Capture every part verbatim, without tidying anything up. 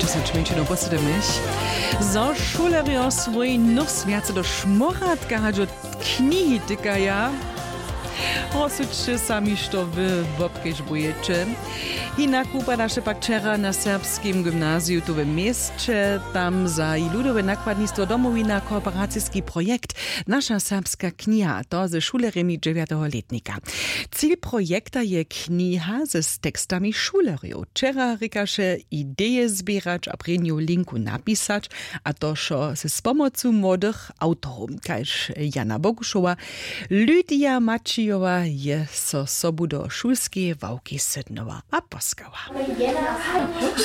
Sečmjeńšinu posydymješ zo šulerjo swój nóhs wjace do šmóratka hač do knihi tykaja. Rozsudźće sami što wy wobkežbujeće. Hinak wupadaše pak wčera na serbskim gymnaziju tu w měsće tam za i ludowe nakładnistwo domowina kooperaciski projekt. Naša serbska kniha, to ze šulerjemi dźewjateho lětnika. Cil projekta je kniha z tekstami šulerjow. Wčera rěkaše ideje zběrać a prěnju linku napisać, a to wšo z pomocu młodych awtorow kaž Jana Bogušowa. Lydija Maćijowa je so sobu do šulskeje ławki sydnyła a poskała.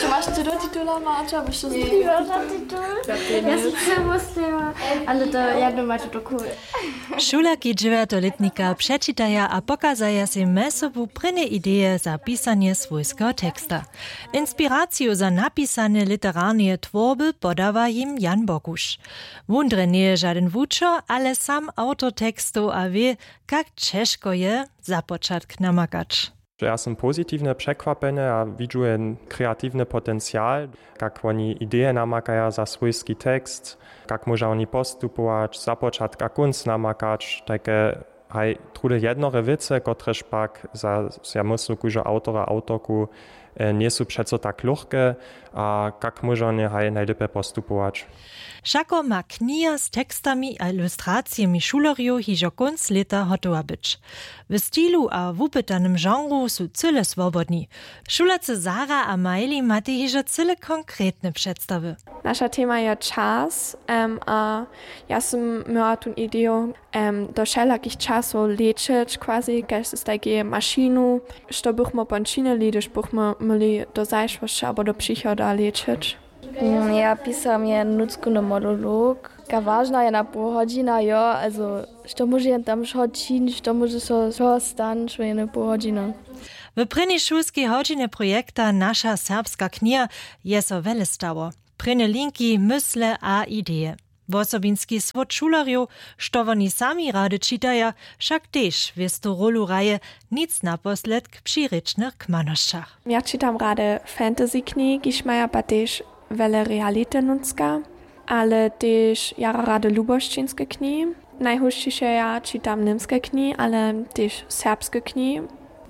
Maš ty do titula, Maća? Byš to zběra? Ja sam samo stejła, ale to jedno macie to cool. Šulerki dźewjateho lětnika přečitaja a pokazaja sej mjez sobu prěnje ideje za pisanje swójskeho teksta. Inspiraciju za napisanje literarneje twórby podawa jim Jan Bokuš. Wón drje njeje žadyn wučer, ale sam awtor tekstow a wě, kak ćežko je započatk namakać. Ja sym pozitiwnje překwapjeny a widźu jen kreatiwny potencial, kak woni ideje namakaja za swójski tekst, kak móža woni postupować, započatk a kónc namakać, tajke haj trudy jednore wěcy, kotrež pak za, ja myslu, kóždeho awtora, awtorku, e, njejsu přeco tak luchke, a kak móža woni haj najlěpje postupować. Wšako ma kniha z tekstami a ilustracijemi šulerjow hižo kónc lěta hotowa być. W stilu a wupytanym žanru su cyle swobodni. Šulerce Sara a Miley matej hižo cyle konkretne předstawy. Naša tema je čas, em, a ja sym měła tu ideju, em, do wšelakich časow lećeć, quasi kaž z tajkeje mašinu, što bychmy pon činili, hdyž bychmy měli do zašłosće abo do přichoda lećeć. Mm, ja pisam jen nutřkowny monolog. Ka wažna jedna poł hodźina, jo, also što móže jen tam wšo činić, što móže so wšo stanić w jednej poł hodźiny. W prěnjej šulskej hodźinje projekta Naša serbska kniha je so wjele stało. Prěnje linki, mysle a ideje. Wosobinski słód šulerjow, što woni sami rady čitaja, wšak tež wěstu rólu hraje, nic naposledk při rěčnych kmanosćach. Ja čitam rady fantasy knihi, kiž maja pa tež wjele reality nutřka, ale tež jara rady lubosćinske knihi. Najhósćiše ja čitam němske knihi, ale tež serbske knihi.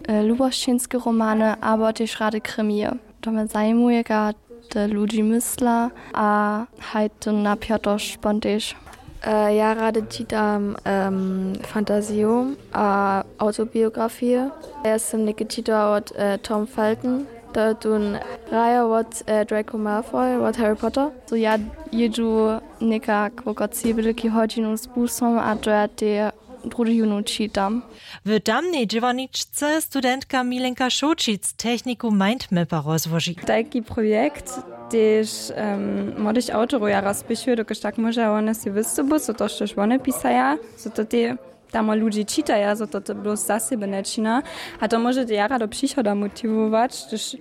E, lubosćinske romany abo tež rady krimije. To mje zajimuje, kaž te ludźi mysla a haj tón napjatosć pon tež. E, ja rady čitam, em, fantaziju a autobiografije. Ja sym něke čitała wot, e, Tom Felton. To je tón hrajo wot, e, Draco Malfoy wot Harry Potter. So ja jědźu někak wokoło tři bydlki hodźinu z busom a to ja te druhi jónu čitam. W tamnej dźěłarničce studentka Milenka Šołćic techniku Mindmapa rozłoži. Tajki projekt tež, em, młodych awtorow jara spěchuje, dokelž tak móžeja wone sej wystupu, so to štož wone pisaja, so to te tamo ludźi čitaja, so to, to blož za sebje nječina. A to móže te jara do přichoda motiwować, hdyž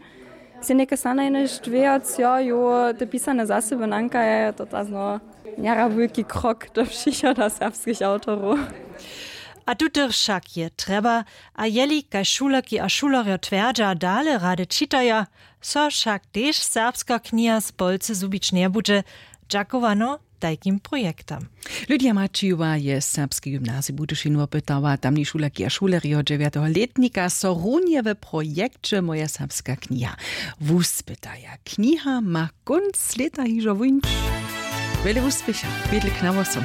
sej něke snano jenož dwejoc, jo, jo, te pisane za sebje nankaja, to ta zno jara wulki krok do přichoda serbskich awtorow. A tutych wšak je trjeba, a jeli kaž šulerki a šulerjo twjerdźa, dale rady čitaja, so wšak tež serbska kniha z polcy zhubić njebudźe. Dźakowano tajkim projektam. Lydia Maćijowa je serbski gymnazij Budyšin wopytała, tamni šulerki a šulerjo dźewjateho lětnika so runje w projekće Moja serbska kniha wuspytaja. Kniha ma kónc lěta hižo wuńć. Wjele wuspěcha, wjedle k nawosom.